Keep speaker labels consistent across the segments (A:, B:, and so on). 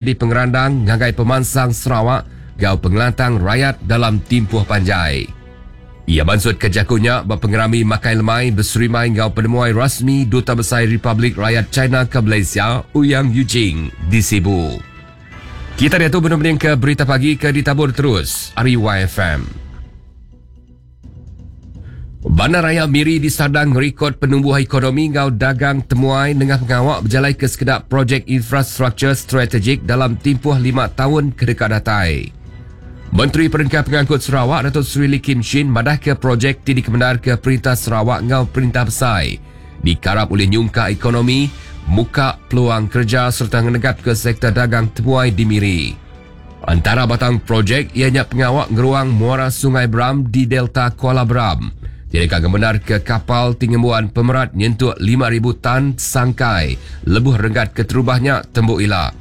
A: Di pengerandang ngagai pemansang Sarawak enggau pengelantang rayat dalam timpuh panjai. Iya mansutka jaku nya ba pengerami makai lemai beserimai enggau penemuai rasmi Duta Besai Republik Rakyat China ke Malaysia Ouyang Yujing di Sibu. Kita diatu benung mendingka Berita Pagi ke ditabur terus ari YFM. Bandaraya Miri disadang ngerikod penumbuh ekonomi enggau dagang temuai nengah pengawa bejalaika sekeda projek infrastruktur strategik dalam timpuh lima taun ke deka datai. Menteri Perengka Pengangkut Sarawak Datuk Seri Lee Kim Shin madahka projek ti dikemendarka Perintah Sarawak enggau Perintah Besai dikarap ulih nyungkak ekonomi, muka peluang kereja sereta ngenegapka sektor dagang temuai di Miri. Entara batang projek iya nya pengawa ngeruang muara Sungai Bram di Delta Kuala Bram ti deka ngemendarka kapal ti ngembuan pemerat nyentuk 5,000 tan sangkai lebuh renggat keterubah nya tembu ila.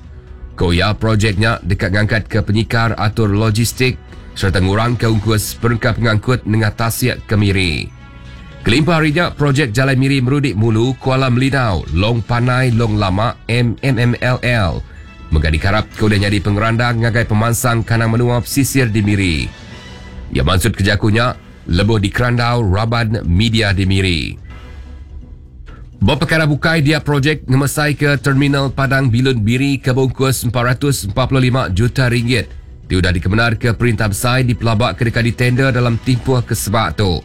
A: Ku iya, projek nya deka ngangkatka penyikar atur logistik sereta ngurangka ungkus perengka pengangkut nengah tasik ke Miri. Kelimpah ari nya, projek Jalai Miri Merudik Mulu, Kuala Melinau, Long Panai, Long Lama, MMMLL, mega dikarapka ulih nyadi pengerandang ngagai pemansang kandang menua pesisir di Miri. Iya mansutka jaku nya lebuh dikerandau raban media di Miri. Ba pekara bukai dia projek ngemesaika Terminal Padang Bilun Miri ke beungkus 445 juta ringgit ti udah dikemendarka Perintah Besai dipelabaka deka ditender dalam timpuh ke sebak tu.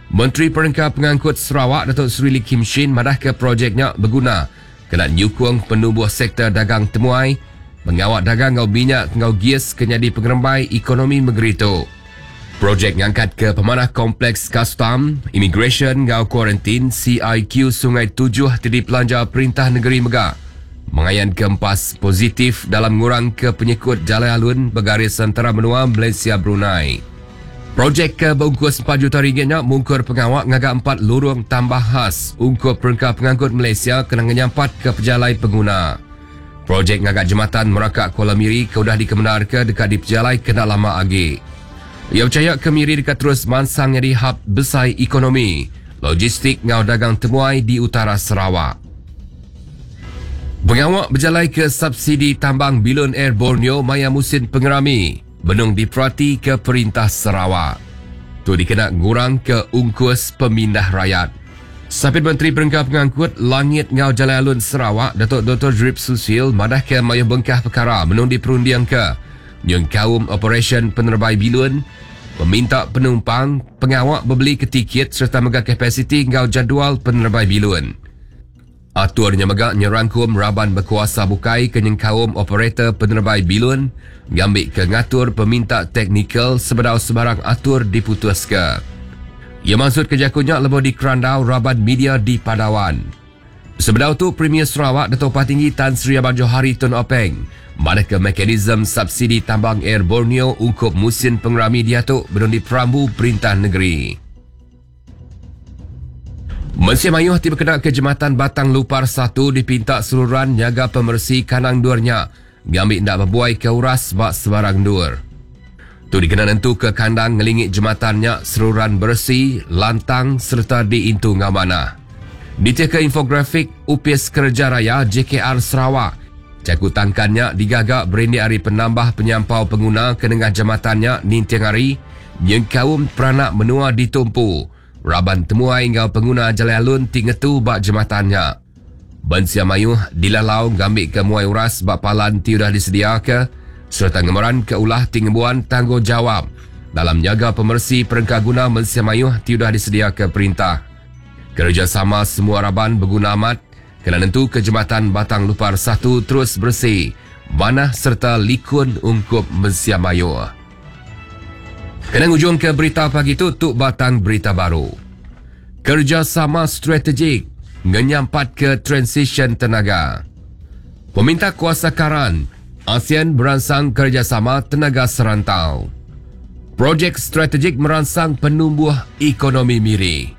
A: Menteri Perengka Pengangkut Sarawak Datuk Seri Lee Kim Shin madahka projek nya beguna kena nyukung penumbuh sektor dagang temuai, pengawa dagang enggau minyak enggau gis ke nyadi pengerembai ekonomi mengeri tu. Projek ngangkatka pemanah Kompleks Kastam, Imigresen enggau Kuarantin, CIQ, Sungai Tujuh ti dipelanja perintah nengeri mega mengayanka empas positif dalam ngurangka penyekut jalai alun begaris entara menua Malaysia-Brunei. Projek ke beungkus empat juta ringgit nya mungkur pengawa ngaga empat lurung tambah khas ungkup perengka pengangkut Malaysia kena ngenyampatka pejalai penguna. Projek ngaga jematan meraka Kuala Miri ke udah dikemendarka deka dipejalai kena lama agi. Iya pechaya ke Miri deka terus mansang nyadi hab besai ekonomi, logistik enggau dagang temuai di utara Sarawak. Pengawa bejalaika subsidi tambang bilun Air Borneo maya musin pengerami. Benung diperatika Perintah Sarawak. Tu dikena ngurangka ungkus pemindah rayat. Sapit Menteri Perengka Pengangkut Langit enggau Jalai Alun Sarawak, Datuk Doktor Jerip Susil madahka mayuh bengkah pekara benung diperundingka nyengkaum operasyen penerebai bilun, peminta penumpang, pengawa bebelika tiket sereta mega kapasiti enggau jadual penerebai bilun. Atur nya mega nyerangkum raban bekuasa bukai ke nyengkaum operator penerebai bilun ngambika ngatur peminta teknikal sebedau sebarang atur diputuska. Iya mansutka jaku nya lebuh dikerandau raban media di Padawan. Sebedau tu, Premier Sarawak Datuk Patinggi Tan Sri Abang Johari Tun Openg madahka mekanisme subsidi tambang Air Borneo ungkup musin pengerami diatu benung diperambu perintah negeri. Mensia mayuh ti bekenaka Jematan Batang Lupar satu dipinta seruran nyaga pemeresi kandang endur nya ngambi enda bebuaika uras ba sebarang endur. Tu dikena nentuka kandang ngelingi jematan nya seruran beresi, lantang sereta diintu enggau manah. Nitihka infografik Opis Kereja Raya, JKR, Sarawak, jaku tangkan nya digaga berindik ari penambah penyampau penguna ke nengah jematan nya ninting hari nyengkaum peranak menua ditumpu raban temuai enggau penguna jalai alun ti ngetu ba jematan nya. Mensia mayuh dilalau ngambika muai uras ba palan ti udah disediaka sereta ngemeranka ulah ti ngembuan tanggungjawab dalam nyaga pemeresi perengka guna mensia mayuh ti udah disediaka perintah. Kerejasama semua raban beguna amat kena nentuka jematan Batang Lupar satu terus beresi, manah sereta likun ungkup mensia mayuh. Kena ngujungka berita pagi tu, tu batang berita baru. Kerejasama strategik ngenyampatka transisyen tenaga. Peminta kuasa karan, ASEAN beransang kerejasama tenaga serantau. Projek strategik meransang penumbuh ekonomi Miri.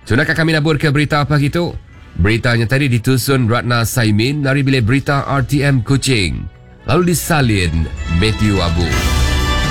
A: Sunaka kami naburka berita pagi tu. Berita nya tadi ditusun Ratna Saimin ari Bilik Berita RTM Kuching lalu disalin Mathew Abu.